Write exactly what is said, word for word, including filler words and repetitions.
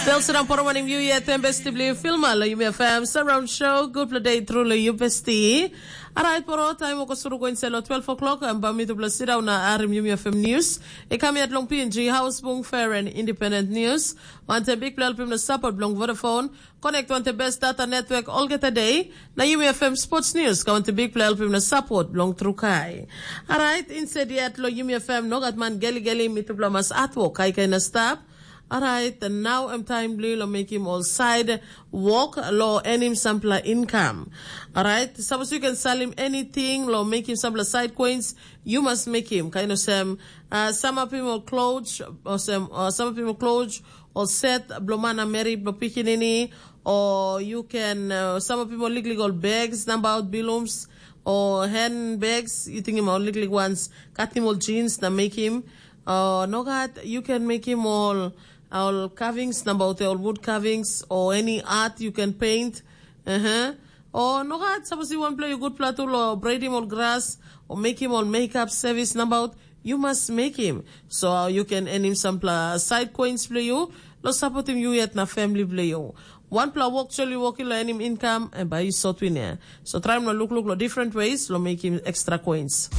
Belsinam poromanim yu yet em besti bli filma lo yumi afam surround show. Good play day through lo yu besti. Alright, poro time oko suru go inside lo twelve o'clock and ba mi tu blessed down na arim yumi afam news. E come yet long P N G house bung fair and independent news. Want a big play help him to support long Vodafone. Connect want the best data network all get a day. Na yumi afam sports news. Ka want a big play help him to support long Trukai. Alright, instead yet lo yumi afam no gat man geli geli mi tu blamas atwo kai kai na stap. Alright, and now I'm time blue lo make him all side walk lo enim sampla income. Alright, suppose you can sell him anything lo make him sampla side coins, you must make him. Kind of sem, uh, some of him all clothes, or sem, uh, some of him all clothes, or set, blomana meri, blo pikinini, or you can, uh, some of him all liklik all bags, number out bilums, or handbags, you think him all liklik ones, cut him all jeans, na make him, uh, no gat, you can make him all all carvings nabaut ol wood carvings o any art you can paint. Uh-huh. O nogat, sapos you wan play good platu lo braid him ol grass o make him ol makeup service nabaut, you must make him. So uh, you can earn him sampla side coins blo you lo supportim you yet na family blo you. Wanpela wok soli woki lo enim income and by you sot win. So try lo look look lo different ways lo make him extra coins.